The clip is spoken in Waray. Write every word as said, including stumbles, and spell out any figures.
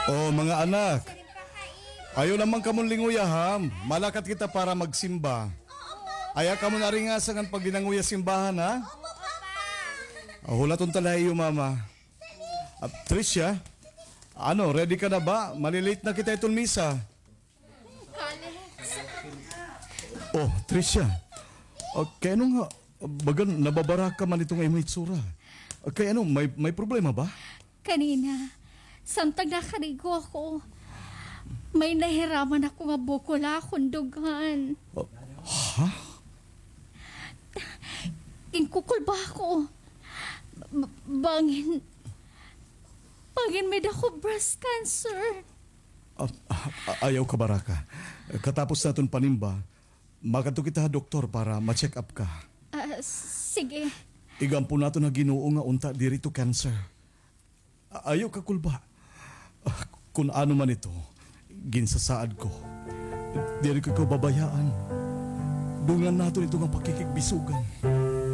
Oh, mga anak. Ayaw la man kamon linguya, ha? Malakat kita para magsimba. Ayaw kamon aringasa ngan paglinanguya simbahan, ha? Oh, hulaton ta la iyo mama. Ah, Tricia, ano, ready ka na ba? Malilate na kita iton misa. Oh, Tricia. Ah, kay ano nga, bagan nababaraka man iton imo itsura? Ah, kay ano, may, may problema ba? Kanina, samtang nakarigo ako, may nahiraman ako nga bukol ha akon dughan. Ah, ha? Ginkukulba ako. B-, bangin, bangin may-ada ako breast cancer. Ah, ah, ayaw kabaraka. Katapos naton panimba, makadto kita ha doktor para ma-check up ka. Ah, s-, sige. Igampo naton ha Ginoo nga unta diri ito cancer. A-, ayaw kakulba. Ah, kun ano man ito, ginsasaad ko, diri ko ikaw babayaan. Dungan naton ito nga pakikigbisogan.